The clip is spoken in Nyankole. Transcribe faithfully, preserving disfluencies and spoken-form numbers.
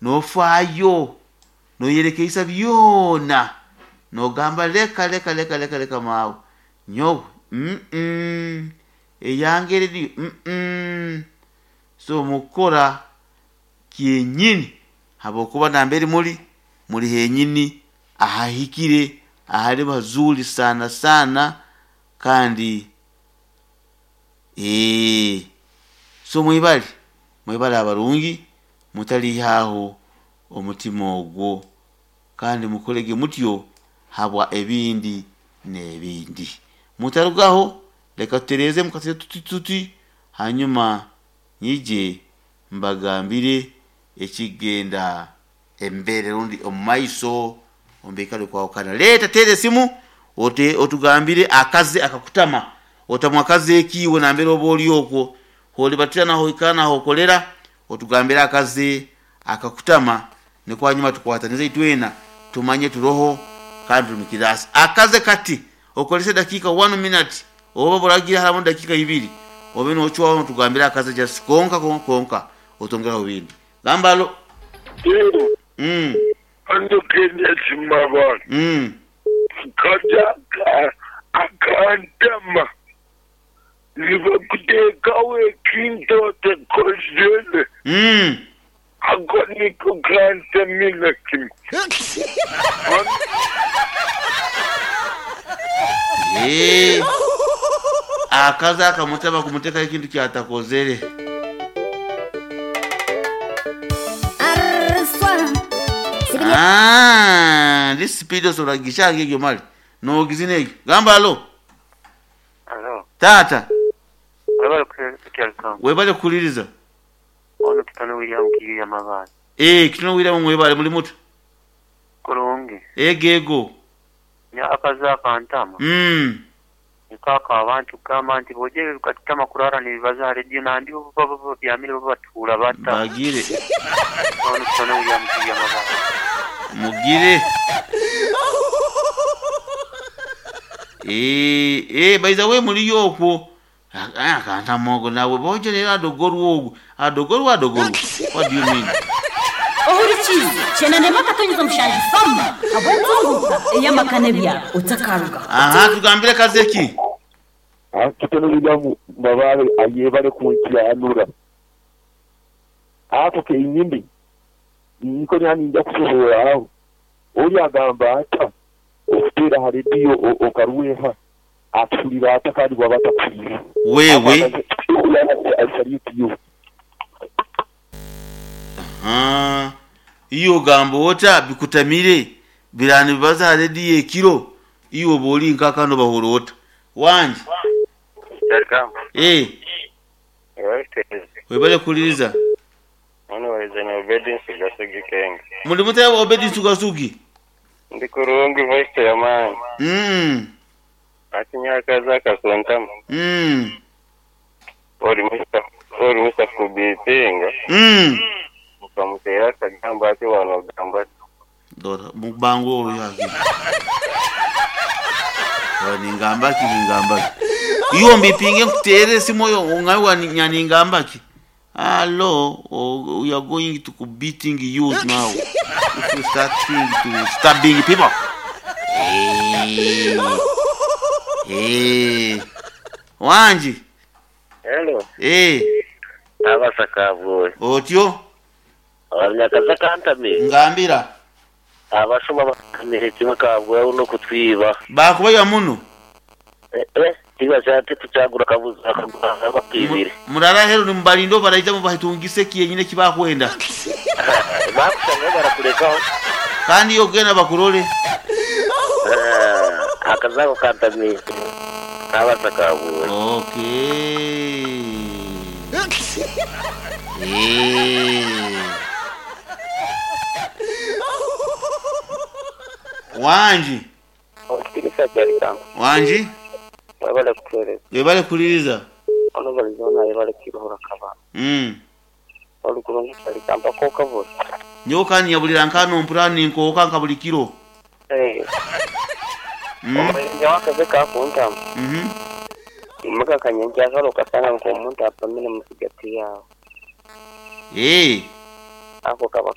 Nofaayo noyerekeisa byona, nogamba leka leka leka leka leka maawe nyowe mm -mm. Eyange erediyo mm -mm. So mukukora kyenyini habwokuba nambere muri muri henyini ahahikire ahali hazuri sana sana kandi ee, so mwibale mwibale abarungi, mutalihaho omutima ogwo kandi mukolege mutyo habwa ebindi n'ebindi. Mutarugaho, leka tutereeze mukatire tuti tuti, hanyuma nyije mbagambire ekigenda embere rundi omu maiso omu kwahukana. Leeta teera esimu ote otugambire akaze akakutama, otamwa akaze ekiiwe nambere oba ori okwo holibatira naho oikara naho okolera, otugambire akaze akakutama, nikwo hanyuma tukwatanize itwena tumanye turoho kandi turi mukirasi. Akaze kati okolese dakika one minute oba buragira haramu dakika ibiri obe nochwaho tugambire akaze just konka konka konka otongeraho bindi gambalo. Mm. Andukenya simabana. Mm. Kajaka akantama. Nibakutekawo ekintu otakozere. Mm. Ako niko kantamina kimwe. Eh. Akaze akamutama kumuteka ekintu kyatakozere. Ah, this speed osobola gishange egyo mali nogizina egyo gamba alo. Alo. Tata Webale kukyalikamu. webale kukuliriza. Ono Kitone William Kiyiya Mabaale. Eh, Kitone William mwebale muli muto. Kulungi. Ego ego. Nya akaze akantama. Mm. Nikaaka abantu kugamba nti bw'ogyere lukatutama kurara nibibaza rediyo nandi bo baba babyamire bo batuula bata. Bagire. Ono Kitone William Kiyiya Mabaale. Mugire. Eh, eh, by the way muliyo okwo. Akantama ogwo nawe bojerera adogorwa ogwo. Adogorwa adogorwa. What do you mean? Ohurikize chenanema katonyeza omushangi fama abwenzunguka eyamakane bya otakaruga. Aha, tugambire kazeki. Ah, Kitone William Mabaale ayebale kunkyanura. Ako kenyimbi niko nyani nja kusobola aho. Oli agamba ata okuteera ha rediyo okaruweha atulira ata kandi bwaba atakulira. Wewe I salute you. Ah, iyo ogamba ota bikutamire birani bibaza ha rediyo ekiro iwe oba oli nkakano bahura ota wangi. Kyalikamu. Eh, webale kuliriza. Ono walizanya Obedi Nsugasigi Kenge. Muli mutaya Obedi Nsugasugi. Ndi kurungi voice ya maani. Mm. Ati nyakaza akakuntama. Mm. Oli musa oli musa kubipinga. Mm. Ukamutera akagamba ati wano ogamba ati. Dora mubango olwo yaki. Ningamba ki ningamba ki. Iyo mbipinge nkutere esimu yo ongawe nyaningamba ki. Hello, oh, we are going to beating you now. If you start to stabbing people. Hey. Hey. Wanji. Hello. Hey. Abasakabwe. Otyo. Abanyakaza kantame. Ngambira. Abasoma bakamire kimwe kabwe uno kutwiba. Bakuba muno. Eh eh, tiba cyate tucagura kabuza akagura bakibire. Murara hero ni mbalindo baraija mu bahitungise kiyenyine kibakwenda. Bakushanga barakurekaho. Kandi yo gena bakurole. Eh, akazako kantame. Abasakabwe. Okay. Eh. Wanji. Wanji. Webale kutereza. Webale kuliriza. Ono balizona webale kiruhura kaba. Mm. Olukulungi kyali ko kabura. Nyowe kandi nyabulira nkano mpurani nkoka nka buli kiro. Eh. Mm. Omurenge wakaze kakuntama. Mhm. Imuka kanyenje akaro kasana nko omuntu apamire musigati yawe. Eh. Ako kaba